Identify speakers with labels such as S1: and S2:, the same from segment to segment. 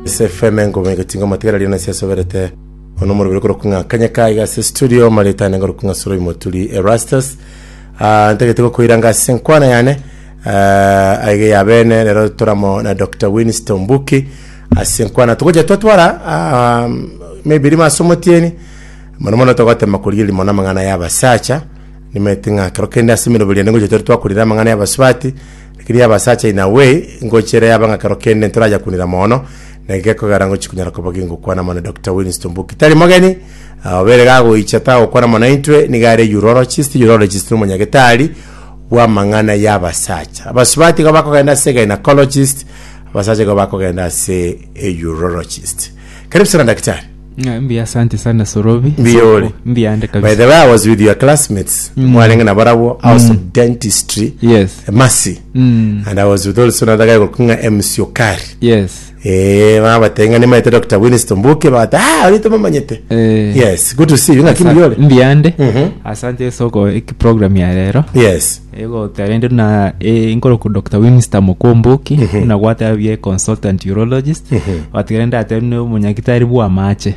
S1: SFM engoma egotinga amatigara riria nase asoberete ono omoroberi okorokwa ng'a kanyeka iga ase studio mareta ane ngorokwa ng'a Soroi Moturi Erastus. Ah, ntagete gokoira nga ase enkwana yane ah, aiga ya bene rero toramo na Dr. Winston Mbuki ase enkwana togocha twatwara ah, maybe rimo ase omotieni mono mono togotema korigereria mono amang'ana ya abasacha nimanyete ng'a kero kende ase emeroberi ende ngocha tore twakorire amang'ana ya abasubati Lakini abasacha in a way ngochera yaba ng'a kero kende ntorayakunera mono na gekogera ngochi konyara koba gingokwana mono Doctor Winston Mbuki tari mogeni ah, obere gagoicha tagokwana mono intwe niga are urologist urologist nomonyagetari bw'amang'ana y'abasacha abasubati igo bakogenda ase gynecologist abasacha igo bakogenda ase a urologist karibu sana daktari
S2: Ah, Mbuya asante sana Sorobi.
S1: Mbuya ore.
S2: Mbuya ande
S1: By
S2: kabisa.
S1: the way, I was with your classmates. Mwarenge na barabwo House of Dentistry.
S2: Yes.
S1: Mercy.
S2: Mm.
S1: And I was with also another guy called Kunga MC Okari.
S2: Yes.
S1: Eh, babatenga nimaete Dr. Winston Mbuke bagata ah orito mamanyete.
S2: Eh.
S1: Yes, good to see you. Ng'aki mbuya ore?
S2: Mbuya ande.
S1: Mhm.
S2: Asante soko eki program ya rero.
S1: Yes.
S2: Ego tarende na eh, nkoroku Dr. Winston Mukumbuki na gwatebie consultant urologist. Watigere ndatebie ne omonyagitari bwa amache.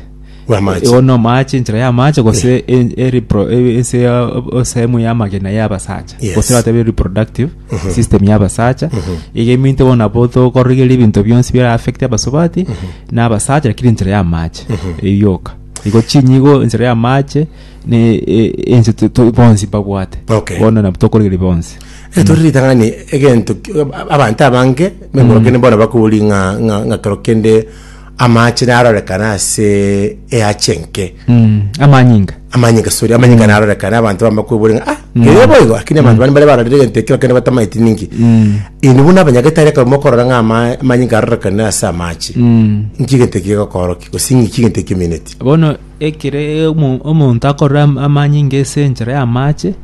S1: Bw'amache.
S2: Igo no amache enchera ya amache gose e- e- repro- e- ase ya- esehemu ya amagena ya abasacha.
S1: Yes.
S2: Gose batebie reproductive system ya abasacha. Iga eminto bono nabo tokorigereria ebinto bionsi bira affect abasubati na abasacha lakini enchera ya amache eyio yoka. Igo chinyigo enchera ya amache ne e- ense to- to- bonsi mbabwate.
S1: Okay.
S2: Bono nabo tokorigereria bonsi.
S1: Eh, tori ritang'ani egento ki- abanto abange memoro kende bono bakobori ng'a ng'a ng'a kero kende amache narorekana ase eache enke
S2: Mm, amanyinga.
S1: amanyinga sorry amanyinga narorekana abanto bambe kwebori ng'a ah kere boigo lakini abanto bande bare barorire egento ekero kende batamaeti ninki inwe buna abanyagetari ekero mokorora ng'a ama- amanyinga arorekane ase amache nki egento eki gegokorokia gose ng'iki egento ekemineti
S2: Bono ekere omo- omonto akorora am- amanyinga ase enchera y'amache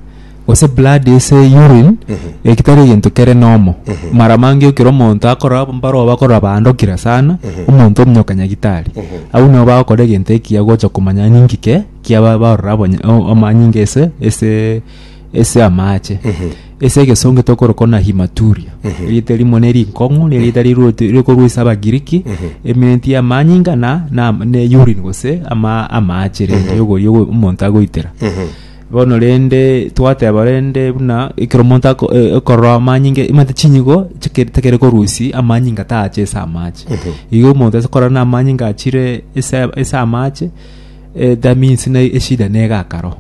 S2: gose blood ase urine eki tari egento kere normal mara mange ekero omonto akorora mbaroo bakorora baandokire sana omonto omonyoka nyagitari abwo nigo bagokora egento ekiya gocha komanya ninki ke kiaba barora abonye o- amanyinga ase ase ase amache ase egesongo tokorokwa na hematuria erieta erimo ne rinkong'u na erieta riruete rikorwa ase abagiriki emineti ya amanyinga na na ne urine gose ama amache rende yogoria omonto agoitera Bono rende twateba rende buna ekero omonto ako e- ekorora amanyinga omanyete chinyigo chikere tekere korusia amanyinga tacha ase amache. Igo omonto ase korora na amanyinga achire ase ase amache eh, that means na eshida nega akaro.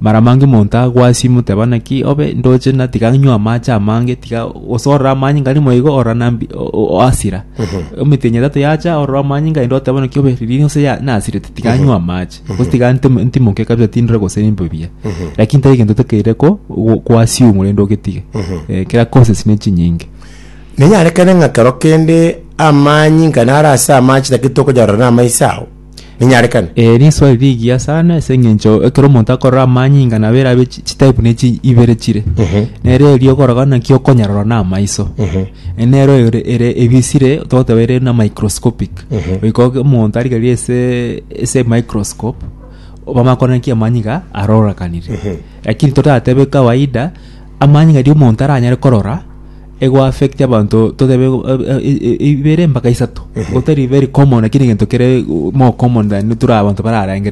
S2: Mara mange omonto agwasima oteba naki obe ndoche na tiga nywe amache amange tiga gose orore amanyinga rimo igo orora nambi o- o- oasira. Emetienyi etato yacha orore amanyinga naende oteba naki obe riria gose ya nasirete tiga nywe amache. Gose tiga ntimo- ntimoke kabisa tindore gose nimbe buya. Lakini tari egento tokeire ko go- koassume rende ogetige. Eh, kera causes ne chinyinge.
S1: Nenyarekane ng'a kero kende amanyinga naro ase amache lakini tokoyarora na amaiso ao. Nenyarekane.
S2: Eh, riswali rigiya sana ase eng'encho ekero omonto akorora amanyinga nabo erabe chi- chitype ne chi ibere chire. Nere eria okoroka naki okonyarora na amaiso. Eh, Nero ere ere ebisire togoteba ere na microscopic. Goika oge- omonto arigererie ase ase microscope bamanye korora naki amanyinga arorakanire. Lakini toratebe kawaida amanyinga riria omonto aranyare korora ego affect abanto totebe ibere mpaka isato. Gotari very common lakini egento kere more common than tore abanto bararengereri.